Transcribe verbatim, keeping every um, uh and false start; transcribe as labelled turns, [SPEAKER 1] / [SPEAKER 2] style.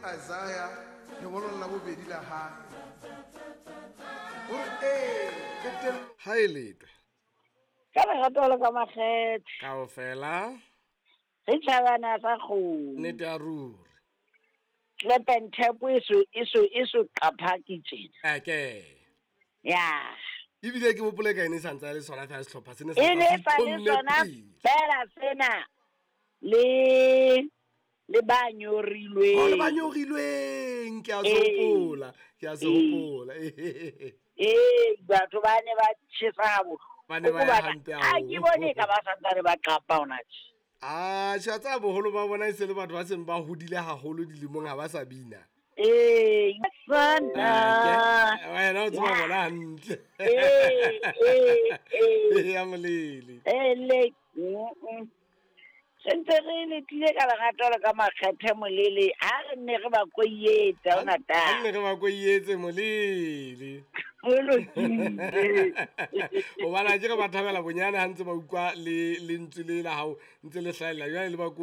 [SPEAKER 1] Isaiah lengolong la bobedi la hae. O re ee, qetello.
[SPEAKER 2] Ha e letwe.
[SPEAKER 3] Ka lerato le ka makgethe.
[SPEAKER 2] Kaofela.
[SPEAKER 3] Re tjhabana sa kgomo.
[SPEAKER 2] Nnete ya ruri.
[SPEAKER 3] Clap and tap e so e so e so qaphaki tjena.
[SPEAKER 2] Eke.
[SPEAKER 3] Ya.
[SPEAKER 2] Ebile ke hopole ka ene e santse le sona fela sehlopha sene
[SPEAKER 3] E ne sa le sona fela sena le le ba nyorilweng.
[SPEAKER 2] Oh, le ba nyorilweng ke a se hopola, ke a se hopola.
[SPEAKER 3] Eh, batho ba ne ba tjhesa ha bohloko.
[SPEAKER 2] Ba ne ba ya hampe
[SPEAKER 3] Ha ke bone ka ba santsane ba qapa hona tje.
[SPEAKER 2] Ah, tjha tsa boholo ba bona e se le batho ba seng ba hodile haholo dilemong ha ba sa bina.
[SPEAKER 3] Eh, sana.
[SPEAKER 2] Wena o tseba bona hantle.
[SPEAKER 3] Eh, eh, eh.
[SPEAKER 2] Ya molele.
[SPEAKER 3] Eh, le. Se ntse re letile ka lerato le ka makgethe molele, ha re nne re ba koietse ona ta.
[SPEAKER 2] Ha nne re ba koietse molele.
[SPEAKER 3] Ho lokile.
[SPEAKER 2] Hobane ke re ba thabela bonyane ha ntse ba utlwa le lentswe le la hao ntse le hlahella jwale le ba